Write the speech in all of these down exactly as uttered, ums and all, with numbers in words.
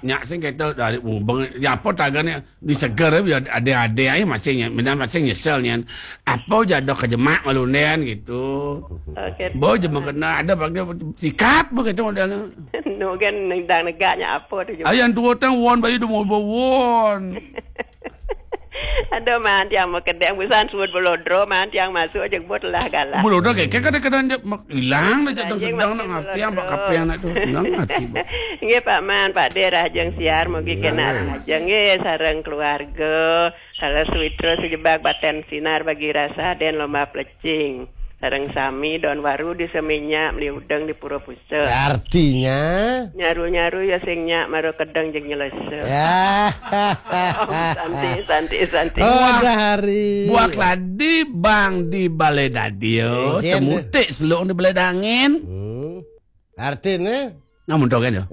Nyak sing kita dari ubeng, ya apa tagane di seger ya, ada-ada aja masih nye-, benar masih nyesel nyen. Apa jadok kejemak malunden gitu. Oke. Boy, cuma kena ada pakai sikat begitu modelnya. Nu kan nendang negaknya apa tu? Ayan tua tang won bayu demo won. Aduh, man, tiang mau kedeng busan suud belodro, man, tiang masuk aja buat lah galak. Belodro kayak kadang-kadang dia mak-, hilang dah jatuh sedang nak ngapi yang bak kape anak tu. Hilang hati, Bang. Nggih, Pak Man, Pak De, rahajeng siar, mugi kena rahajeng nggih, sareng keluarga. Salah suwitra sejebak baten sinar bagi rasa den lomba plecing. Sareng sami don waru di seminyak, meli udeng di pura pusa. Artinya? Nyaru-nyaru ya sing nyak mara kedeng jeung nyelesa. Ya. Om santi, santi, santi. Oh, ada hari. Buah keladi bang di balai dadio, temutik seluk di balai dangin. Hmm. Artinya? Namun dogen ya.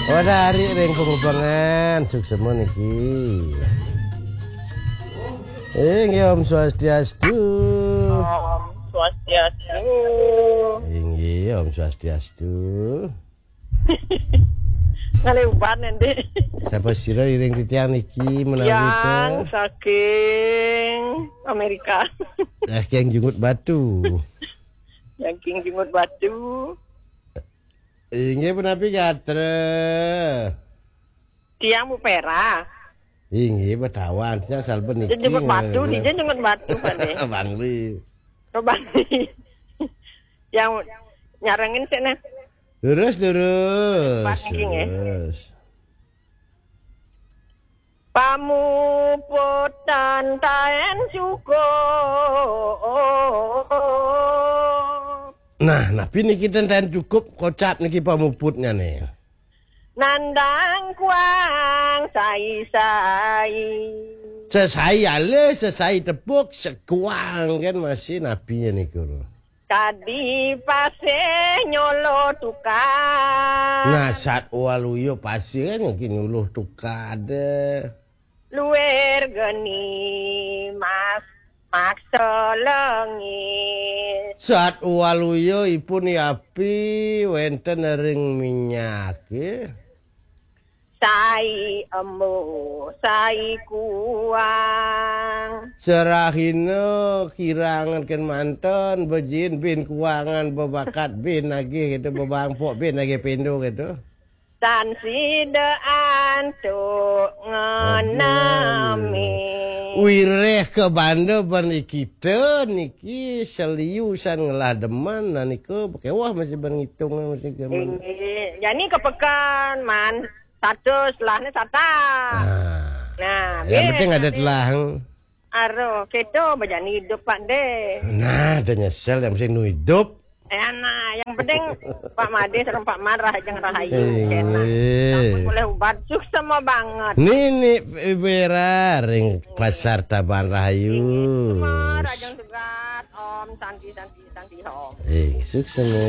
Pada hari ring pengubangan, suksema niki. Inggih, Om Swastiastu. Om Swastiastu. Inggih, Om Swastiastu. Kali uban nanti. Siapa sira iring titiang niki menawi? Yang saking Amerika. Eh, yang jenggot batu. Yang king jenggot batu. Inggih punapi gatra? Tiang Bu Pera. Inggih betawan, tiang salben niki. Jenggot batu, dia jenggot batu, Pak De. Bangli. Oh, Bangli. Yang nyarengin sih, nah. Lurus, lurus. Pas niki, nggih. Lurus. Pamuputan taen cukup. Nah, napi niki ten taen cukup kocap niki pamuputnya nih. Nandang kuang sai-sai. Sesai alih, sesai tepuk, sekuang kan masih napinya niku. Kadi pasih nyolo tukad. Nah, sat waluya pasih kan mungkin nyuluh tukad. Luir geni mas maksa lengis. Sat waluya ipun yapi wenten ring minyak, ya. Sai embuh, sai kuang. Serahina kirangan ken manten, bejin bin kuangan, bebakat bin nagih gitu, bebangpok bin nagih pindo gitu. Tan sida antuk ngenami. Aduh. Wireh ke banda ban kita niki seliusan ngelah demen, nah nika bekewah masih ban ngitung masih demen. Inggih. Jani ke pekan, man. Satu selahnya sata. Ah. Nah, yang penting ada telah. Aroh, kita bejani hidup, Pak De. Nah, ada nyesel yang mesti nu hidup. Eh, nah, yang penting Pak Made sareng Pak Man rahajeng rahayu. Eh. Kena. Sampun boleh ubat, suksema banget. Nini Bera ring Pasar Taban Rahayu. Suksema, rahajeng tugas, Om. Santi, santi, santi, Om. Eh, suksema.